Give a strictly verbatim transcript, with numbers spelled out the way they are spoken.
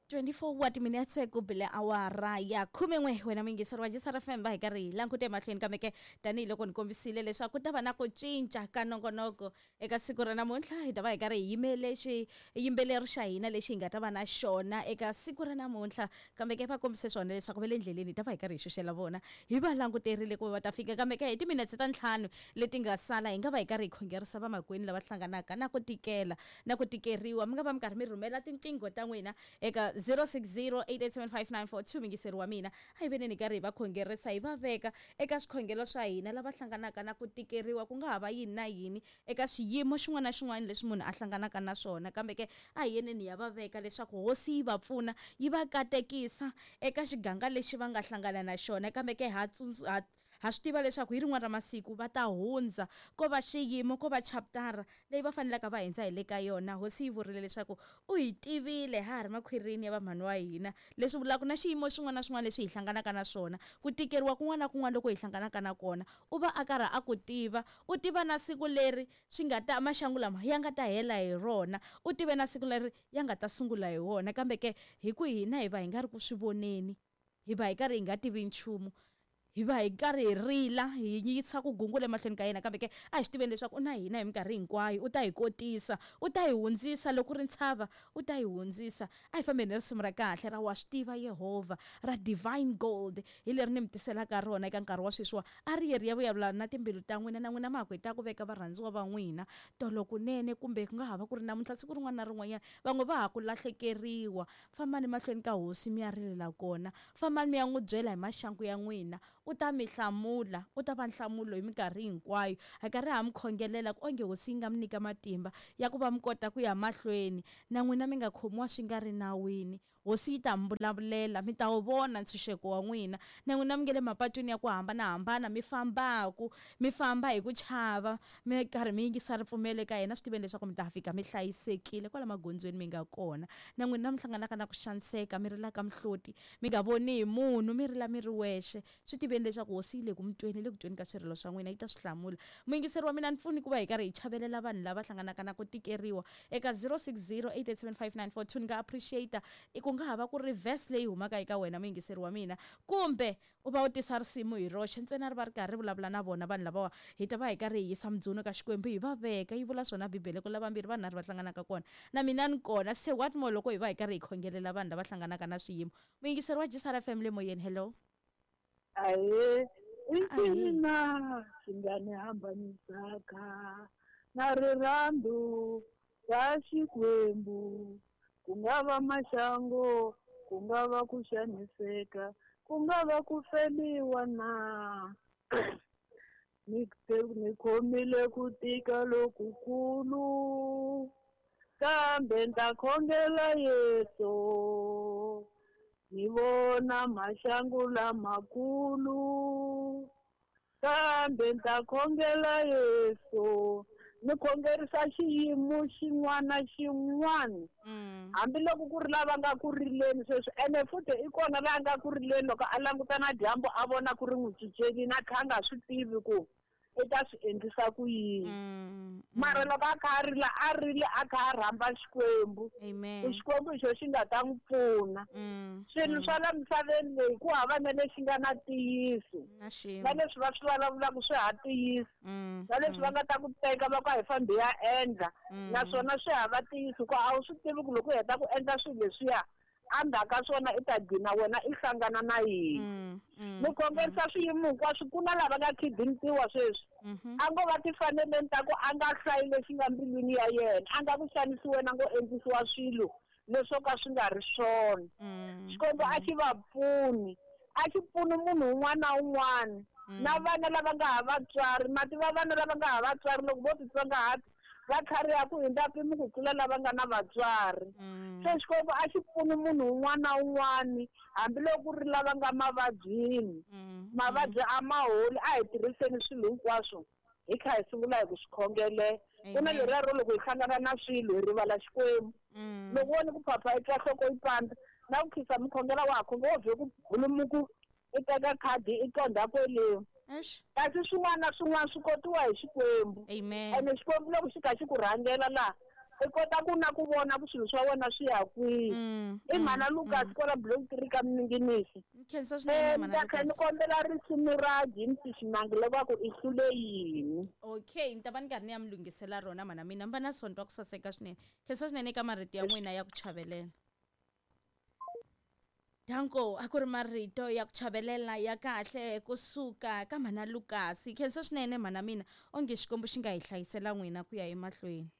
twenty-four wa timinetse ku bile awara ya khumen'we wena muyingiseri wa J S R F M va hi karhi hi langute emahlweni kambe ke tanihiloko ni kombisile leswaku ku ta va na ku cinca ka nongonoko eka siku ra namuntlha. Hi ta va hi karhi hi yimele xiyimbeleri xa hina lexi hi nga ta va na xona eka siku ra namuntlha, kambe ke va kombise swona leswaku va le ndleleni. Hi ta va hi karhi hi xuxela vona, hi va languterile ku va va ta fika, kambe ke hi timinetse ta ntlhanu leti nga sala hi nga va hi karhi hi khongerisa vamakwenu lava hlanganaka na ku tikela na ku tikeriwa. Mi nga va mi karhi mi rhumela tinqingho ta n'wina eka zero six zero, eight eight seven, five nine four two. Mingiseri wa mina, a hi veneni karhi hi va khongerisa, hi va veka eka swikhongelo swa hina lava hlanganaka na ku tikeriwa, ku nga ha va yini na yini eka xiyimo xin'wana na xin'wana lexi munhu a hlanganaka na swona, kambe ke a hi yeneni ya va veka leswaku hosi yi va pfuna, yi va katekisa eka xiganga lexi va nga hlangana na xona. Kambe ke ha ha ha swi tiva leswaku hi rin'wana ra masiku va ta hundza, ko va xiyimo, ko va chaptara leyi va fanelaka va hindza hi le ka yona. Hosi yi vurile leswaku u hi tivile ha ha ri makhwirini ya vamhani wa hina, leswi vulaka na xiyimo xin'wana na xin'wana lexi hi hlanganaka na swona, ku tikeriwa kun'wana na kun'wana loko hi hlanganaka na kona, u va a karhi a ku tiva. U tiva na siku leri swi nga ta maxangu lama ya nga ta hela hi rona, u tive na siku leri ya nga ta sungula hi wona, kambe ke hi ku hina hi va hi nga ri ku swi voneni, hi va hi karhi hi nga tivi nchumu, hi va hi karhi hi rila, hi yisa ku gungula emahlweni ka yena. Kambe ke a hi swi tiveni leswaku u na hina hi minkarhi hinkwayo, u ta hi kotisa, u ta hi hundzisa. Loko ku ri ntshava, u ta hi hundzisa. A hi fambeni hi risimu ra kahle ra "Wa swi tiva Yehovha" ra Divine Gold, hi leri ni mi tiselaka rona eka nkarhi wa sweswiwa. A ri ye ri ya vulavula na timbilu ta n'wina, na n'wina ma ha ku hi ta ku veka varhandziwa va n'wina tolo kunene, kumbe ku nga ha va ku ri namuntlha, siku rin'wana na rin'wanyana. Van'we va ha ku lahlekeriwa, fambani mahlweni ka hosi mi ya rilela kona, fambani mi ya n'wi byela hi maxangu ya n'wina, u ta mi hlamula, u ta va nhlamulo hi minkarhi hinkwayo. Hi karhi ha mi khongelela ku onge hosi yi nga mi nyika matimba ya ku va mi kota ku ya mahlweni, na n'wina mi nga khomiwa swi nga ri nawini. Hosi yi ta mi vulavulela, mi ta wu vona ntshunxeko wa n'wina. Na n'wina mi nge le mapatwini ya ku hambanahambana, mi fambaku mi famba hi ku chava, mi karhi mi yingisa ripfumelo eka yena, swi tiveni leswaku mi ta fika mi hlayisekile kwala magondzweni mi nga kona. Na n'wina mi hlanganaka na ku xaniseka, mi rilaka mihloti, mi nga voni hi munhu, mi rila mi ri wexe, swi tiveni leswaku hosi yi le ku mi tweni, le ku tweni ka swirilo swa n'wina, yi ta swi hlamula. Muyingiseri wa mina, ni pfuni ku va hi karhi hi chavelela vanhu lava hlanganaka na ku tikeriwa eka zero six zero, eight eight seven, five nine four two. Ni nga appreciate i ku nga ha va ku ri verse leyi humaka eka wena, muyingiseri wa mina, kumbe u va u tisa risimu hi roxe ntsena, ri va ri karhi ri vulavula na vona vanhu lavawa. Hi ta va hi karhi hi yisa mudzuno ka Xikwembu, hi va veka. Yi vula swona Bibele ku lavambirhi vanharhu va hlanganaka kona, na mina ni kona. Se what more loko hi va hi karhi hi khongelela vanhu lava hlanganaka na swiyimo? Muyingiseri wa J S R F M le moyeni, hello. Ahe, i ncini na xi nga ni hambanisaka na rirhandzu ra Xikwembu? Ku nga va maxangu, ku nga va ku xaniseka, ku nga va ku feliwa na? Ni ni khomile ku tika lokukulu, kambe ni ta khongela Yesu. Ni vona maxangu lamakulu, kambe ni ta khongela Yesu. Ni khongerisa xiyimo xin'wana na xin'wana, Mm. hambiloko ku ri lava nga ku rileni sweswi. Ene futhi i kona laha nga ku rileni, loko a languta na dyambu a vona ku ri n'wi cinceli, na kha a nga swi tivi ku i ta swi endlisa ku yini, Mm. mara loko a kha a rila, a rile a kha a rhamba Xikwembu, Amen. ku Xikwembu hi xo xi nga ta n'wi pfuna. Mm. Swilo swa la misaveni leyi, ku hava na lexi nga na ntiyiso. Na xin'we. Na leswi va swi vulavulaka swi ha ntiyiso, Mm. na leswi va nga ta ku teka va ku a hi fambi ya endla, Mm. naswona swi hava ntiyiso, ku a wu swi tivi ku loko u heta ku endla swilo leswiya, endzhaku ka swona i ta gcina wena i hlangana na yini. Mm. Mm. Ni khongerisa swiyimo hinkwaswo. Ku na lava nga khidiniwa sweswi, Mhm. a ngo va tifaneleni ta ku a nga hlayi lexi nga mbilwini ya yena, a nga ku xanisiwa na ngo endlisiwa swilo leswo ka swi nga ri swona. Mm. Xikwembu a xi va pfuni, a xi pfuni munhu un'wana na un'wana, na vana lava nga ha vatswari. Mativa vana lava nga ha vatswari, loko vo titsongahata, va tlhariha ku hundza mpimo ku tlula lava nga na vatswari. Mm. Se Xikwembu a xi pfuni munhu un'wana na un'wana, hambiloko ku ri lava nga mavabyini. Mm. Mavabyi a ma holi. A hi tirhiseni swilo hinkwaswo hi kha hi sungula hi ku swi khongelela. Ku na Amen. leriya ro loko hi hlangana na swilo hi rivala Xikwembu. Mm. Loko wo ni ku phapha i twa nhloko yi pandza, na ku khisa mukhongela wa ha khonge, wo vhe ku bulumuku, i teka khadi i qondha kweleni. Eish. Kasi swin'wana na swin'wana swi kotiwa hi Xikwembu. Amen. Ene Xikwembu loko xi kha xi ku rhangela laha, I kota ku na ku vona ku swilo swa wena swi ya kwihi. Mm, I mm, mhana Lucas mm. kwala block three ka Minginisi. Khensa swinene Eh, mhana ni ta kha ni Lucas. kombela risimu ra James Xinangi loko i hlule yini. Okay, ni ta va ni karhi ni ya mi lunghisela rona mhana mina. Mi va na sonto wa ku saseka swinene. Khensa swinene eka marito ya n'wina ya ku chavelela. Danko, a ku ri marito ya ku chavelela ya kahle kusuka ka mhana Lucas. Khensa swinene mhana mina, onge Xikwembu xi nga hi hlayisela n'wina ku ya emahlweni.